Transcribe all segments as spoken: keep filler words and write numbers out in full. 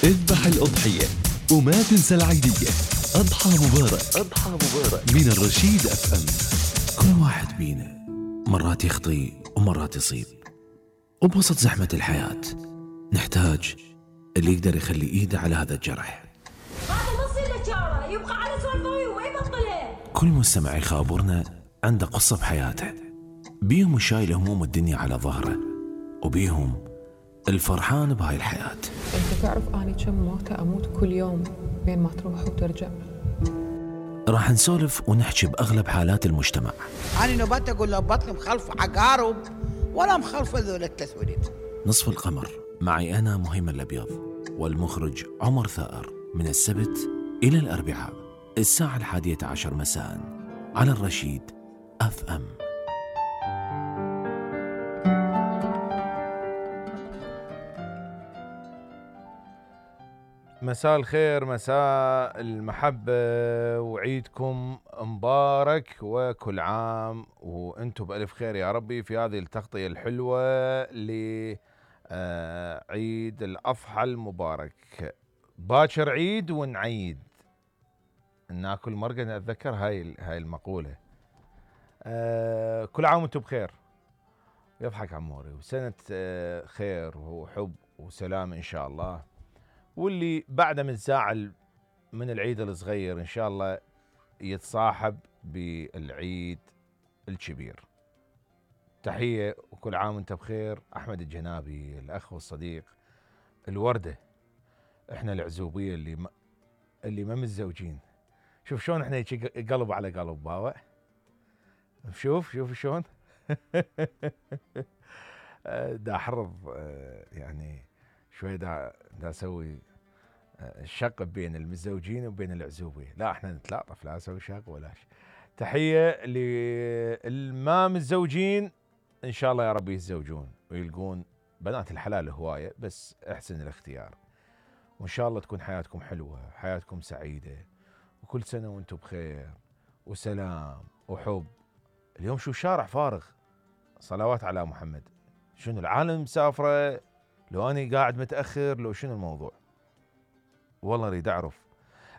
اذبح الأضحية وما تنسى العيدية. أضحى مبارك، أضحى مبارك من الرشيد اف ام. كل واحد بينا مرات يخطي ومرات يصيب، وبوسط زحمة الحياة نحتاج اللي يقدر يخلي ايده على هذا الجرح. هذا ما يصير له شارة، يبقى على سوالفه وما يبطله. كل مستمع يخابرنا عنده قصة بحياته، بيهم شايل هموم الدنيا على ظهره، وبيهم الفرحان بهاي الحياة. انت تعرف اني كم موتة اموت كل يوم بين ما تروح وترجع. راح نسولف ونحكي بأغلب حالات المجتمع. أنا نبات أقول له بطني مخلف عقارب ولا مخلف ذول التسويلين. نصف القمر معي أنا مهيم الأبيض والمخرج عمر ثائر، من السبت إلى الأربعاء الساعة الحادية عشر مساء على الرشيد اف ام. مساء الخير، مساء المحبة، وعيدكم مبارك وكل عام وانتم بألف خير يا ربي في هذه التغطية الحلوة لعيد الأضحى المبارك. باكر عيد ونعيد، ناكل مرقة. أتذكر هاي هاي المقولة. كل عام وانتم بخير، يضحك عموري، وسنة خير وحب وسلام إن شاء الله. واللي بعده متزاعل من العيد الصغير إن شاء الله يتصاحب بالعيد الكبير. تحية وكل عام وانت بخير. أحمد الجنابي، الأخ والصديق الوردة. احنا العزوبية اللي ما اللي ما متزوجين. شوف شلون احنا قلب على قلب باوع. شوف شوف شلون دا احرض يعني شوي، دا دا اسوي الشق بين المتزوجين وبين العزوبيه. لا احنا نتلاطف، لا اسوي شق ولا شيء. تحيه للما متزوجين، ان شاء الله يا رب يتزوجون ويلقون بنات الحلال هوايه، بس احسن الاختيار. وان شاء الله تكون حياتكم حلوه، حياتكم سعيده، وكل سنه وانتم بخير وسلام وحب. اليوم شو شارع فارغ، صلوات على محمد. شنو العالم مسافره؟ لو اني قاعد متاخر، لو شنو الموضوع؟ والله اريد اعرف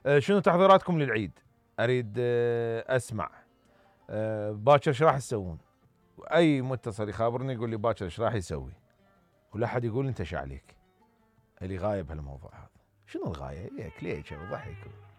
أه شنو تحضيراتكم للعيد. اريد أه اسمع أه باكر ايش راح تسوون؟ اي متصل يخابرني يقول لي باكر ايش راح يسوي، ولا احد يقول انت ايش عليك. اللي غايب هالموضوع هذا. شنو الغايه؟ هيك ليش ضحك